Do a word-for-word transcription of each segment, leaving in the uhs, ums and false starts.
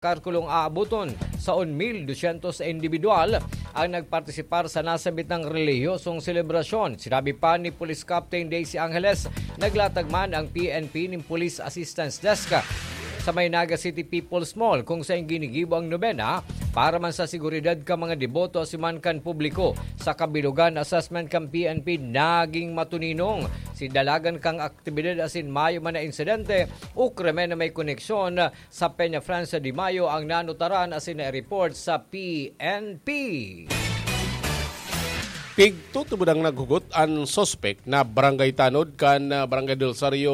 karkulong aaboton. Saon mil dosyentos na indibidwal ang nagpartisipar sa nasabit ng relihiyosong selebrasyon. Sinabi pa ni Police Captain Daisy Angeles, naglatag man ang P N P nin Police Assistance Desk sa may Naga City People's Mall, kung saen ginigibo ang nobena para man sa seguridad kan mga deboto asin man kan publiko. Sa kabilogan, assessment kan P N P naging matuninong. Sidalagan kan aktibidad asin mayo man na insidente o krimen na may koneksyon sa Peña Francia de Mayo ang nanutaran asin na-report sa P N P. Pigtutubod ang naghugot an suspek na barangay tanod kan, ah, Barangay Del Rosario,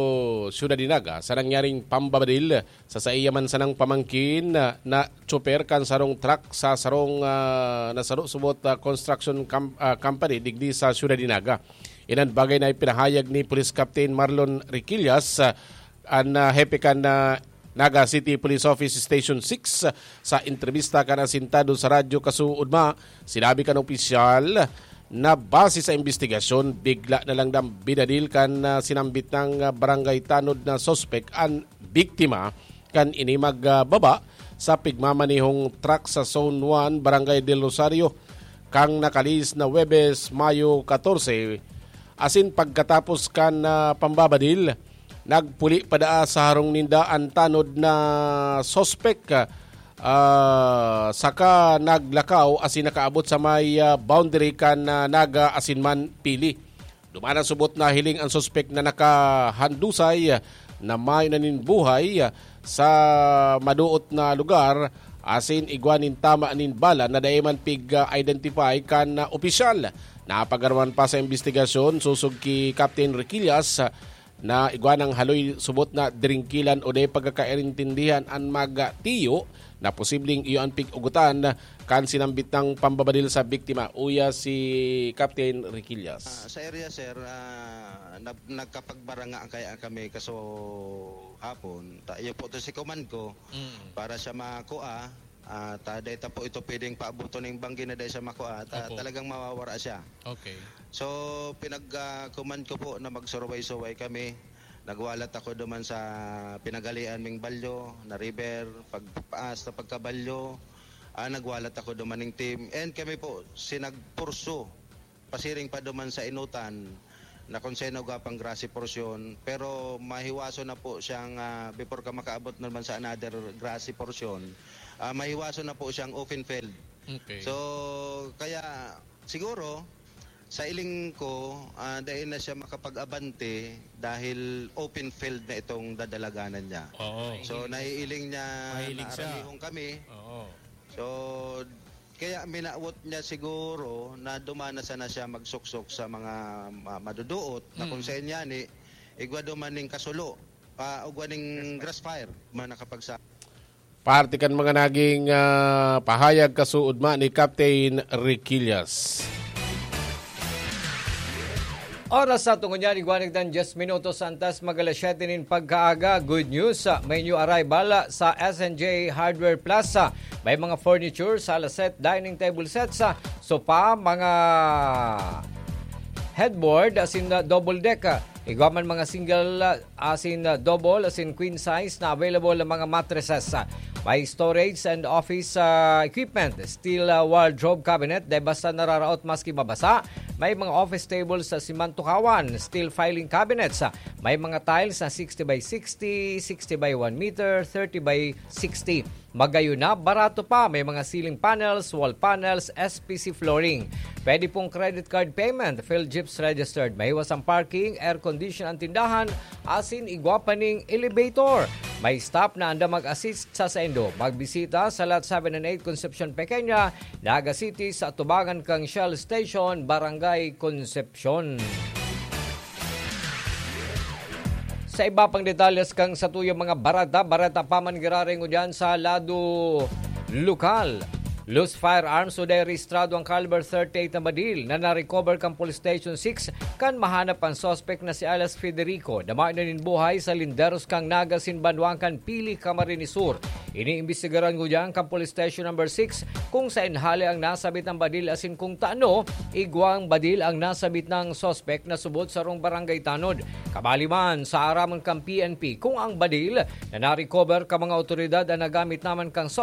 Ciudad de Naga, sa nangyaring pambabadil sa saiya man sanang pamangkin na, na tsoper kan sarong truck sa sarong, ah, nasaro subot, ah, construction com-, ah, company digdi sa Ciudad de Naga. Inan bagay na ipinahayag ni Police Captain Marlon Riquillas, ah, an, ah, hepe kan, ah, Naga City Police Office Station six, sa entrevista kan asintado sa Radyo Kasuudma. Sinabi kan opisyal na base sa imbestigasyon, bigla na lang dang binadil kan, ah, sinambit nang, ah, barangay tanod na suspek an biktima kan ini magbaba sa pigmamanehong truck sa Zone one, Barangay Del Rosario, kan nakalihis na Huwebes, Mayo katorse, asin pagkatapos kan, ah, pambabadil, nagpuli pa daa sa harong ninda an tanod na suspek, ah, saka naglakaw asin nakaabot sa may, ah, boundary kan, ah, Naga asin man Pili. Duman an subot na hiling an suspek na nakahandusay na mayo na nin buhay sa madoot na lugar asin igwa nin tama nin bala na dai man pig-identify kan, ah, opisyal. Napagaraman pa sa imbestigasyon sosog ki Captain Riquillas na igwa nang haloy subot na dringkilan o dai pagkakaintindihan an magtiyo na posibleng iyo an pig-ugotan kan sinambit na pambabadil sa biktima, uya si Captain Riquillas. Ah, sa area, sir, ah, nag-, nagkapagbaranga kaya kami kaso hapon. Ta-, iyo po to si command ko Mm. para siya makua. Ah, ta, dai ta po ito pwedeng paabuton ning banggi na dai siya makua. Ta, Opo. talagang mawawara siya. Okay. So, pinag, ah, command ko po na magsuruway-suway kami. Nagwalat ako duman sa pinagalian ming balyo, na river, pagpaas na pagkabalyo. Ah, nagwalat ako duman ning team. And kami po, sinagpurso, pasiring pa duman sa inutan, na kung sino gwa pang grassy portion. Pero mahiwaso na po siyang, ah, before ka makaabot naman sa another grassy portion, ah, mahiwaso na po siyang open field. Okay. So, kaya siguro, sa iling ko, ah, dai na siya makapag-abante dahil open field na itong dadalaganan niya. Oo. So, naiiling niya Mahilig na siya. aralihon kami. Oo. So, kaya minawot niya siguro na duman na sana siya magsuksok sa mga ma-, maduduot na kung Mm. sa inyani, igwa duman ning kasulo, ah, ugwa ning grass fire, man nakapagsa- Parte kan mga naging, ah, pahayag kasuodma ni Captain Riquillas. Oras sa tungo niyan, igwa nagdan diyes minutos antes mag alas siyete nin pagkaaga. Good news, ah, may new arrival, ah, sa S and J Hardware Plaza. May mga furniture, sala set, dining table sets, ah, sofa, mga headboard, asin, ah, double deck, ah. Igwa man mga single, ah, asin, ah, double, asin queen size na available ang mga mattresses, ah. May storage and office, ah, equipment, steel, ah, wardrobe cabinet, dai basta nararaot maski mabasa. May mga office tables sa simantukawan, steel filing cabinets, ah. May mga tiles na sixty by sixty, sixty by one meter, thirty by sixty. Magayon na, barato pa. May mga ceiling panels, wall panels, S P C flooring. Pwede pong credit card payment, PhilGips registered. Mahiwas ang parking, air condition ang tindahan, asin igwa pa ning elevator. May staff na andam mag-assist sa saindo. Magbisita sa Lot seven and eight Concepcion Pequeña, Naga City, sa atubangan kang Shell Station, Barangay Concepcion. Sa iba pang detalles kan satuyang mga bareta, bareta pa man giraray ngunyan sa lado lokal. Loose firearms o dai rehistrado ang caliber thirty-eight na badil na na-recover kan Police Station six kan mahanap an suspek na si alias Federico, na mayo na nin buhay sa linderos kan Naga asin banwaan kan Pili, Camarines Sur. Iniimbestigaran ngunyan kan Police Station Number six kung saen hale ang nasabit na badil asin kung tano igwang badil ang nasabit na suspek na subot sarong barangay tanod. Kabali man, sa aram kan P N P, kung ang badil na na-recover kan mga awtoridad an nagamit naman kan